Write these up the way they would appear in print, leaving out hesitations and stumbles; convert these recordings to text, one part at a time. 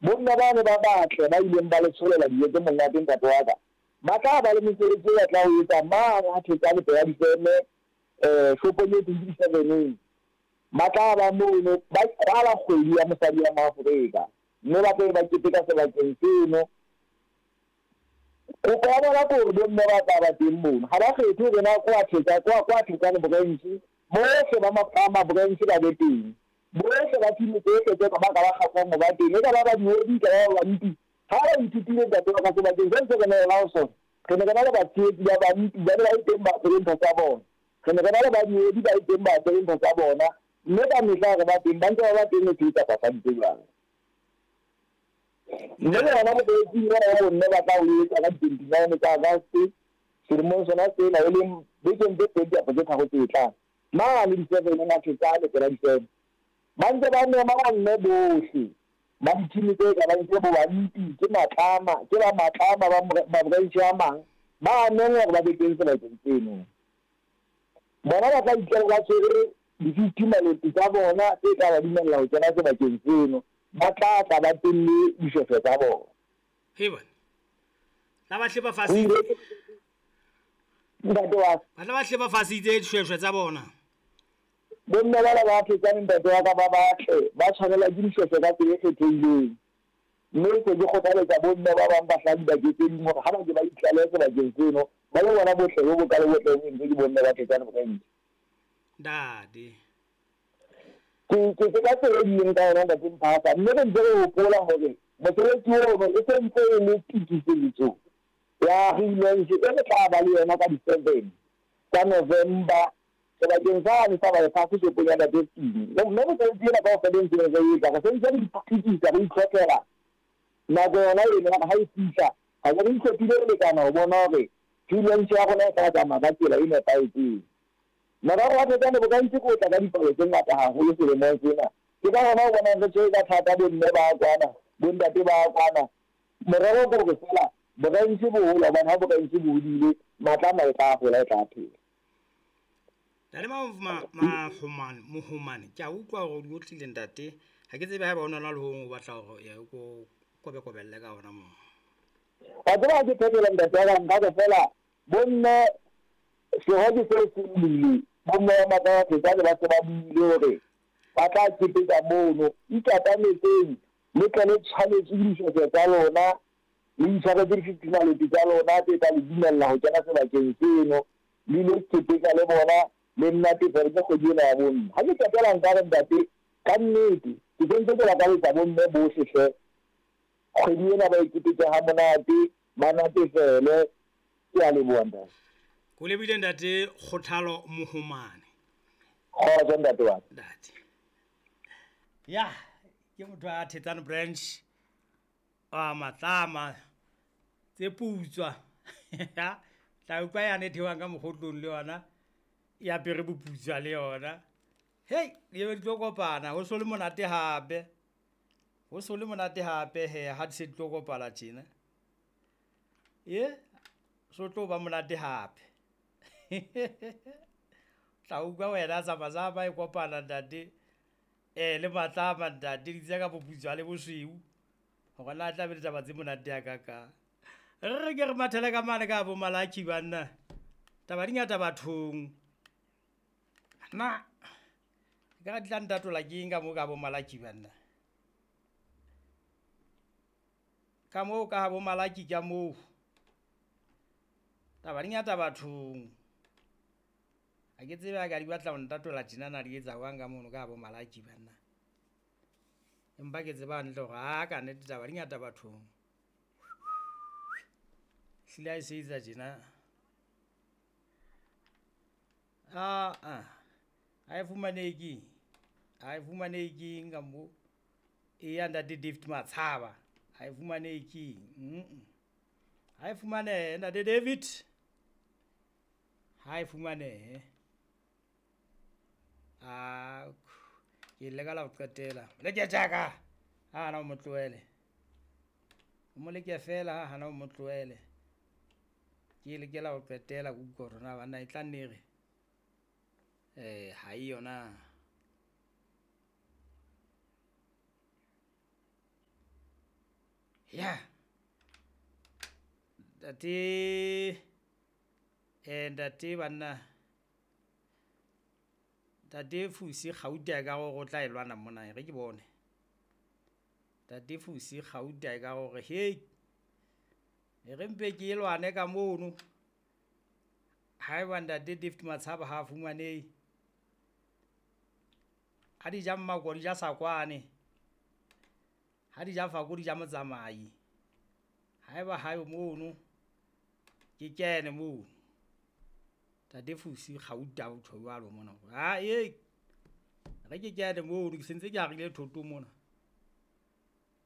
Bomme bane ba batle ba ileng ba le tsholela dijo tse monate ntate wa ka, ba tla ba le mosebetsi o ba tla o etsa mane ha Thetsane pela difeme, shopong e thweng ke di-seveneng. Ba tla ba mono ba kwala kgwedi ya mosadi wa Moafrika, mme ba tla be ba keteka sebakeng seno. Kopo ya bona ke hore bomme ba tla ba teng mono, ha ba kgethe hore na ke wa Thetsa, ke wa Thetsane branch, bohle ba ma-branch ba be teng. Bohle ba thimo tsohle tse ba ka ba kgahlwang ho ba teng, e ka ba badihedi, e ka ba babampi. Ha ba ithutile ntate wa ka sebakeng se ntse re ne re na ho sona, re ne re na le batshehetsi ba bampi, ba ne ba le teng ba apere ntho tsa bona. Re ne re na le badihedi ba le teng ba apere ntho tsa bona, mme ka mehla re ba teng, ba ntse ba ba teng ho tshehetsa papadi tse jwalo. Mme le hona mosebetsing ona wa bomme ba tla o etsa ka di-29 tsa August selemong sona sena, e leng bekeng tse pedi kapa tse tharo tse tlang. Mane di-seven Mathetsane pela di-seven. Ba ntse ba mema bomme bohle ba dithimi tse ka bang ke bo Bampi, ke Matlama, ke ba Matlama ba mabranche a mang, ba a mengwa hore ba be teng sebakeng seno. Bona ba tla itlela ba tshwere di-fifty maloti tsa bona tse tla ba dumella ho kena sebakeng seno. Ba tla tla ba tenne dishweshwe tsa bona. Hei bana, la ba hle ba fasitse. Ntate wa ka. Ba tla ba hle ba fasitse dishweshwe tsa bona. Bomme bana ba phetsang ntate wa ka ba batle, ba tshwanelwa ke dishweshwe ka tsela e kgethehileng. Mme se ke kgothaletsa bomme ba bang ba hlaha dibakeng tse ding hore ha ba ke ba itlalehe sebakeng seno, ba lo bona botle bo bokalo bo tle bo entswe ke bomme ba Thetsane Branch. Ntate. Ke ke ke ka tsela e bileng ka yona ntate Mphasa, mme re ntse re hopola hore mosebetsi ono e se ntse e le tokisetso ya relaunch e re tla ba le yona ka di-seven tsa November sebakeng sane sa bypass shopong ya Ntate Steve. Mme mosebetsi ena kaofela e ntseng re etsa, re sentse re itukisa, re itlhophela nako yona eno hore ha e fihla, re be re itlhophile ho lekana ho bona hore relaunch ya rona e tla tsamaya ka tsela e nepahetseng. Morero wa Thetsane Bokantsi ke ho tla ka dipalo tse ngata haholo selemong sena. Ke ka hona o bonang re tshwere ka thata bomme ba kwana, bontate ba kwana, Morero ke hore feela boraense bo hola hobane ha boraense bo hodile, matla ana e tla hola, e tla phela. Ntate Mahomane, Mohomane, ke a utlwa hore o di otlile ntate. Ha ke tsebe haeba o na le ho hong o batla hore o ko kobekobelle ka hona moo. Wa tseba ha ke phetola ntate wa ka nka re feela bomme seho ke seo se buile, bomme ba matla ba Thetsane ba se ba buile hore ba tla keteka mono. Ikatametseng Le tle le tshwanetswe ke dishweshwe tsa lona, le itshwaretse dififimaloto tsa lona tse tla le dumella ho kena sebakeng seno, le ilo keteka le bona, le nnatefele ke kgwedi ena ya bomme. Ha ke qetela nka re, Ntate, ka nnete ke sentse ke lakaletsa bomme bohle hle, kgwedi ena ba e keteke hamonate, ba natefele. Ke a leboha, Ntate. Ke o lebohile Ntate Kgothalo Mohomane. Kgotso Ntate wa ka. Ntate. Ya, ke motho a Thetsane Branch a Matlama tse putswa. Tla utlwa yane e theohang ka mokgotlong le yona e apere boputswa le yona. Hei, di be di tlo kopana, ho so le monate hape. Ho so le monate hape he ha di se di tlo kopana tjena. E so tlo ba monate hape. Tla utlwa wena zama-zama e kopana ntate. Eh, le Matlama ntate, di tsa ka boputswa le bosweu. Hore na tla be le taba tse monate ya kakang. Re re ke re mathele ka mane ka bo Malaki banna. Taba di ngata bathong. Na ka ga di tla ntatola ke eng ka mo ka bo Malaki banna. Ka moo ka bo Malaki ka moo. Taba di ngata bathong. Ha ke tsebe ha ka di batla ho ntatola tjena na di etsa jwang ka mono ka bo Malaki banna. Empa ke tseba hantle hore ha ka nnete taba di ngata bathong. Hlile ha e se etsa tjena. Ah ah. Ha e fumanehe keng? Ha e fumanehe keng ka mo? Eya ntate David Matshaba. Ha e fumanehe keng? Ha e fumanehe ntate David. Ha e fumanehe. A ke leka la ho qetela. Leke tjaka. Ha hana o mo tlohele. O mo leke fela ha hana o mo tlohele. Ke lekela ho qetela ke utlwa hore na banna e tla nne re ha e yona. Ya ntate, ntate banna, ntate Fusi Gauta e ka gore o tla e lwana mona, re ke bone. Ntate Fusi Gauta e ka gore hei, e re mpe ke e lwane ka mono. Haeba ntate David Matshaba ha a fumanehe, ha di ja mmako di ja sakwane, ha di ja fako di ja motsamai. Haeba hayo mono, ke kene mono. Ntate Fusi Gauta o tjho jwalo mona. Ha e re ke kene mono, ke sentse ke harile thoto mona.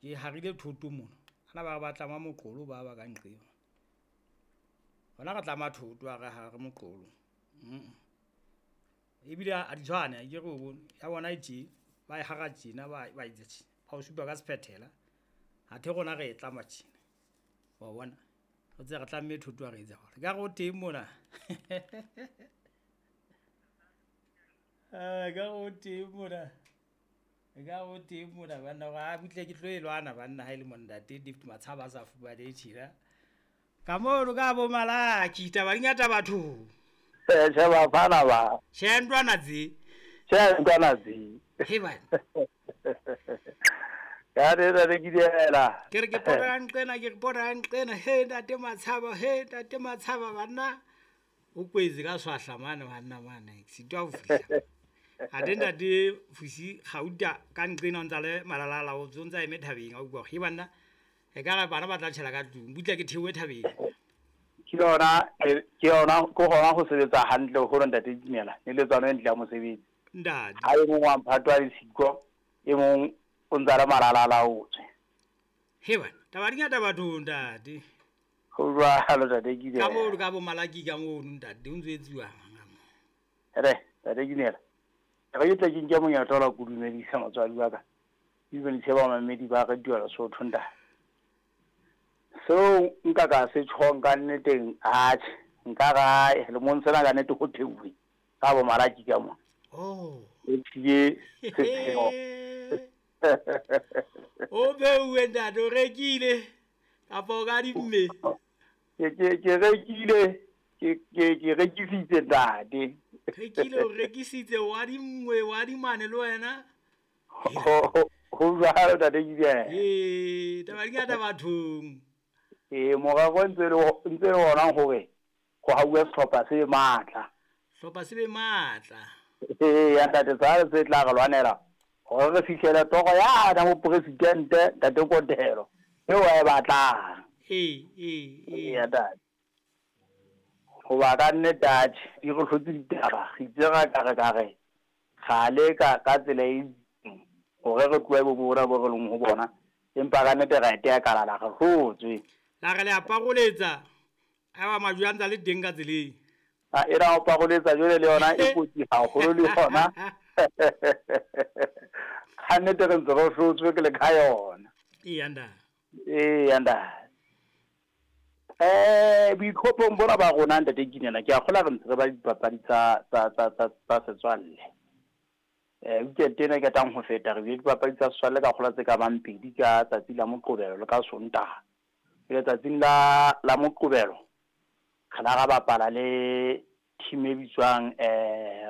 Ke harile thoto mona. Ana ba re ba tlama moqolo ba ba ka nqeng. Hona re tlama thoto ha re hare moqolo. Ebile a di tshwane, ke re o bone. Ya bona e tje, ba e hara tjena, ba etsa tjena. Ba o supa ka sephethela. Athe rona re e tlama tjena. Wa bona? Re tse re tlamme thoto ha re etsa jwalo. Ekare o teng mona. Ekare o teng mona. Ekare o teng mona banna, hore a butle ke tlo e lwana banna ha e le monna ntate David Matshaba a sa fumanehe tjena. Ka mono ka bo Malaki, taba di ngata bathong. Tjhe, bafana ba. Tjhe, ntwana tse. Tjhe, ntwana tse. He bana. Ka re re ke diela. Ke re ke pota nqena, ke re pota nqena. He ntate Matshaba, he ntate Matshaba banna. O kwetse ka swahla mane banna mane. Sitwa ho fihla. Athe ntate Fusi Gauta ka nqena o ntsa le malalala o ntsa eme thabeng a utlwa he banna. E ka re bana ba tla tjhela ka tlung, butle ke theohe thabeng. Ke yona, ke yona, ke hona ho sebetsa hantle ho ntate Dumela, ne le tswano e ntle ya mosebetsi. Ntate. Ha e mong wa mphato a le siko, e mong o ntsa le malalala o tswe. He bana, taba di ngata bathong ntate. Ho jwalo ntate Dumela. Ka moo ka bo Malaki ka moo ntate, o ntso etsuwa ka moo. Re, ntate Dumela. Re ke tle ke nke monyetla wa go dumedisa motswadi wa ka. Ke dumedise ba mamedi ba Radio Lesotho ntate. Seo nka ka se tjhong ka nneteng, atjhe, nka ra lemong sena ka nnete ho theuwe ka bo Malaki ka mona. Oh. E tlile sepheo. O beuwe ntate, o rekile kapa o ka dimme? Ke rekile, ke rekisitse ntate. Rekile, o rekisitse, wa dimngwe, wa dimane le wena? Ho jwalo ntate Gideon. Ee, taba di ngata bathong. Ee, morero ntse le ona hore ho hauwe sehlopha se matla. Sehlopha se be matla. Ee, ya ntate, tsale se tla re lwanela hore re fihlele toro yana ho presidente ntate Kotelo eo a e batlang. Ee, ee, ee. Ya ntate. Hoba ka nnete atjhe, di re hlotse ditaba, re itse ra ka re ka re kgale ka tsela e itseng hore re tlohe bo bona bo re leng ho bona, empa ka nnete ra e teya kalala, re hlotswe. La re le a paroletsa, a ba majwe a ntsa le teng ka tseleng. A e ra o paroletsa jwale le yona e kotsi haholo le yona. Ka nnete re ntse re hlotswe ke le ka yona. Ee, ntate. Ee, ntate. Boitlhophong bona ba rona ntate Kinena, ke a kgolwa re ntse re ba dipapadi tsa setswalle. Weekend ena e qetang ho feta re bile dipapadi tsa setswalle ka kgolwa tse ka bang pedi ka tsatsi la Moqebelo le ka Sontaha. Letsatsing la Moqebelo re la ra bapala le team e bitswang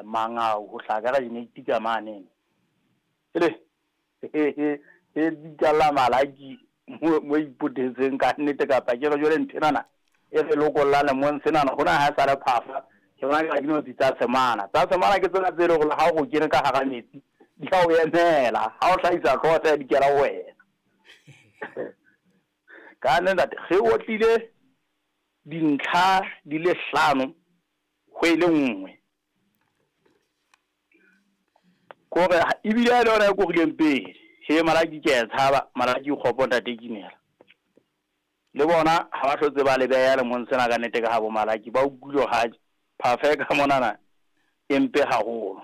Mangau ho hlaha ka region 8 ka mane. Ele e bitsa la Malaki mo ipotetseng ka nnete kapa ke re jwale nthenana e re lokolla lemong senana hona ha sa le phafa ke bona ka dinotsi tsa semana. Tsa semana ke tsona tse leng hore ha o kene ka hara metsi di a o emela, ha o hlahisa hlooho tsa di kela ho wena. Ka nnete re otlile dintlha di le hlano ho e le nngwe. Kore ebile le yona e korileng pele. He Malaki ke a tshaba, Malaki kgopo ntate Kinela. Le bona ha ba hlotse ba le beha lemong sena ka nnete ka ha bo Malaki ba utlwile ha phafa ka monana e mpe haholo.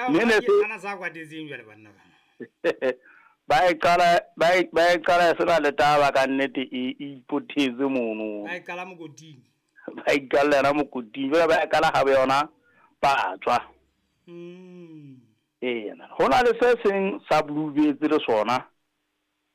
Mme ne se ana sa kwatetseng jwale banna ba. Ba e qala sena le taba ka nnete e ipothetse mono. Ba e qala mokoting. Ba e qala yona mokoting, jwale ba e qala ha ba yona patswa. Ee, hona le se seng sa Blue Birds le sona